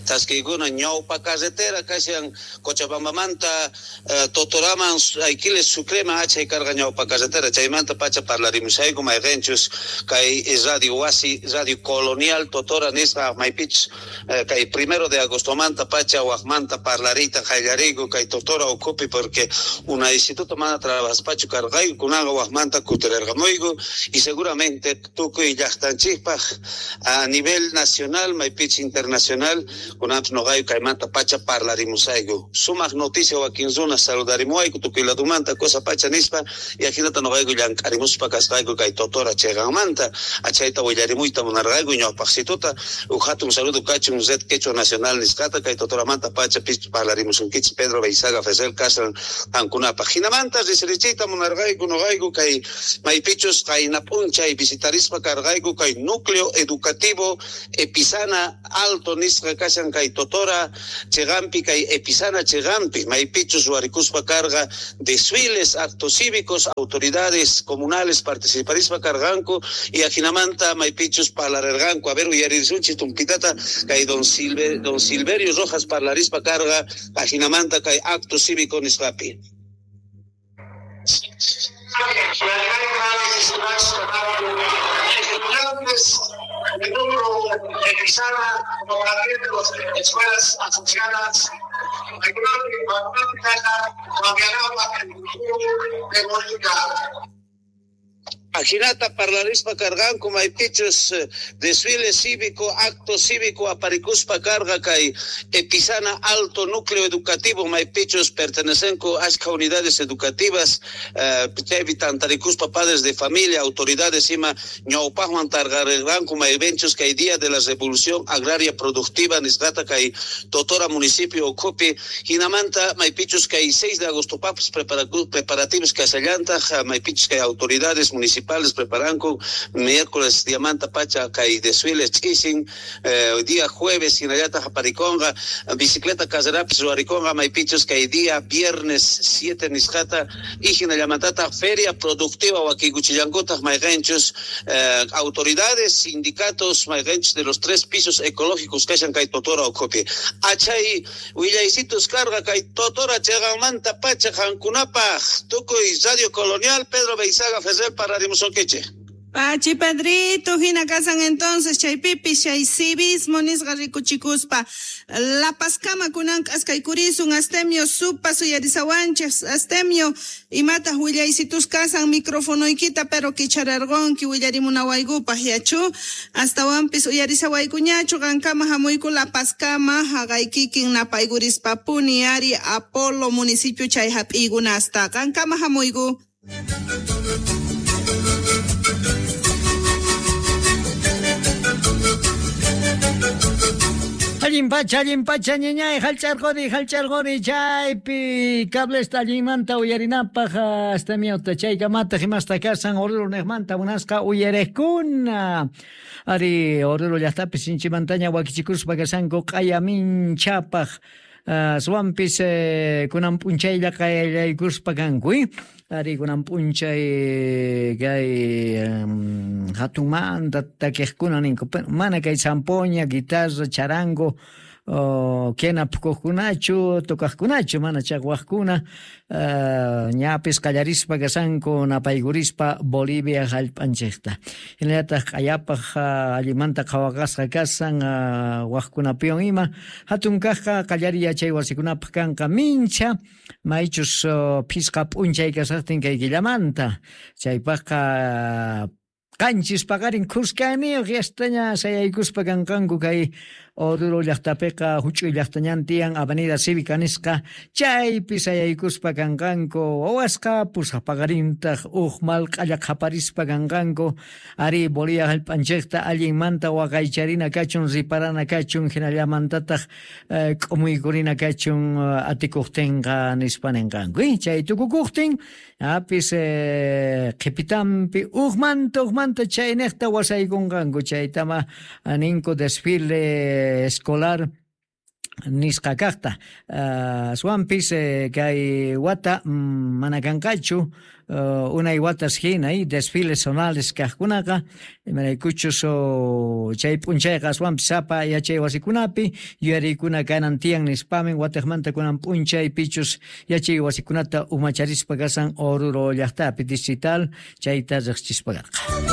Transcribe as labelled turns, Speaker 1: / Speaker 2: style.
Speaker 1: Thaskiykuna ñawpa carretera kashan Cochabambamanta Totoraman Aiquiles Sucreman achay karqa ñawpa carretera chaymanta pacha parlarimushayku mayqinchus kay radio wasi Radio Colonial Totora nisqa maypichus kay 1 de agostomanta pacha waqmanta parlariyta qallariyku kay Totora ukhupi porque una instituto mana trabajaspachu karqayku kunanqa waqmanta kutirarqamuyku y seguramente tukuy llaqtanchikpaq a nivel nacional maypich internacional kunanpis nuqayku kaymanta pacha parlarimusayku sumaq noticia wakin runa saludarimuwayku tukuy ladumanta cosa pacha nispa y ajinata nuqayku llank'arimuspa kasqayku kay Totora chiqanmanta achayta willarimuyta munarqayku ñawpaqsituta uj hatun saludo kachun Red Quechua Nacional nisqata kay Totoramanta pacha pis parlarimusunkichik Pedro Veizaga Ferrer kashan qankunapaq hinamanta risirichiyta munarqayku nuqayku kay maypichus qayna p'unchay visitarispa karqayku kay núcleo educativo Epizana Alto nisqa kashan kay Totora chiqanpi kay Epizana chiqanpi maypichus ruwarikuspa karqa desfiles, actos cívicos, autoridades comunales participarispa karqanku y ajinamanta maypichus parlarirqanku. A ver, uyarisunchik tumpitata kay don Silverio Rojas parlarispa karqa ajinamanta kay acto cívico nisqapi.
Speaker 2: Estudiantes del núcleo Epizana, como también de las escuelas asociadas, de Bolivia.
Speaker 1: Ajinata parlarispa karqanku maypichus desfile cívico, acto cívico aparikuspa karqa kay Epizana Alto Núcleo Educativo maypichus pertenecenku ashka unidades educativas chaypi tantarikuspa padres de familia, autoridades ima ñawpaqman tarqarirqanku maypenchus kay Día de la Revolución Agraria Productiva nisqata kay Totora municipio ukhupi hinamanta maypichus kay 6 de agosto papis preparativos kasallantaq maypichus kay autoridades municipales preparanku miércoles diamanta pacha kay desfiles ch'isin día jueves hinallataq aparikonqa bicicleta carrerapis ruwarikonqa maypichus kay día viernes 7 nisqata y hinallamantataq feria productiva wakiykuchillankutaq mayqinchus autoridades, sindicatos mayqinchus de los 3 pisos ecológicos kashan kay Totora ukhupi. Achay willaysitus karqa kay Totora chiqanmanta pacha qankunapaq tukuy Radio Colonial Pedro Veizaga Ferrer para Musonquiche.
Speaker 3: Pachi Pedrito, hina kasan entonces chaypipi chay civismo nisqa rikuchikuspa La Pazkama kunan k'askaykurisun Astemio supa suyarisawanchik Astemio imataq willaysitus kasan microfonoykita pero kichararqunki willarimunawaykupaq yachu astawanpis uyarisawaykuñachu qankama hamuyku La Pazkama haqaykikin napaykurispa-puni ari Apolo municipio chay hap'iykunasta qankama hamuyku.
Speaker 4: Allin pacha, ñañay, hallch'arquni, chaypi cablesta allinmanta uyarinapaq Astemiota chaykamataq imasta kasan Oruro niqmanta munasqa uyariqkuna. Ari Oruro llaqtapi sinchimantaña wakichikuspa kasanku q'aya minchapaq aswanpis kunan p'unchaylla qallaykuspa kanku. Ari kunan p'unchay kay hatunmanta takiqkuna ninku mana kay zampoña, guitarra, charango quena phukuqkunachu, tocaqkunachu, mana chaqwaqkuna ñapis qallarispa kasanku napaykurispa Bolivia hallp'anchikta. Hinallataq q'ayapaq allimanta qhawaqasqa kasan waqkunapiwan ima hatun kaqqa qallariy yachay wasikunapaq kanqa mincha maychus phisqa p'unchay kasaqtin kay killamanta chaypaqqa qanchis paqarin khuskaniyuq yastaña sayaykuspa kanqanku kay Oruro llaqtapiqa huch'uy llaqtañan tiyan Avenida Cívica nisqa chaypi sayaykuspa kanqanku wawasqa pusaq paqarintaq uj malq'alla qhaparispa kanqanku ari Bolivia hallp'anchikta allinmanta waqaycharina kachun riparana kachun hinallamantataq k'umuykurina kachun atikuqtinqa nispa ninqanku chay tukukuqtin apis qhipitanpi ujmanta chayniqta wasaykunqanku chaytama ninku desfile escolar nisqa kaqta. Aswanpis kay wata mana kanqachu unay watas hina desfiles zonales kaqkunaqa, imaraykuchus chay p'unchayqa aswanpis sapa yachay wasikunapi yuyariykuna kanan tiyan nispamin watiqmanta kunan p'unchay pichus yachay wasikunata umacharispa kasan Oruro llaqtapi distrital chayta riqsichispa karqa.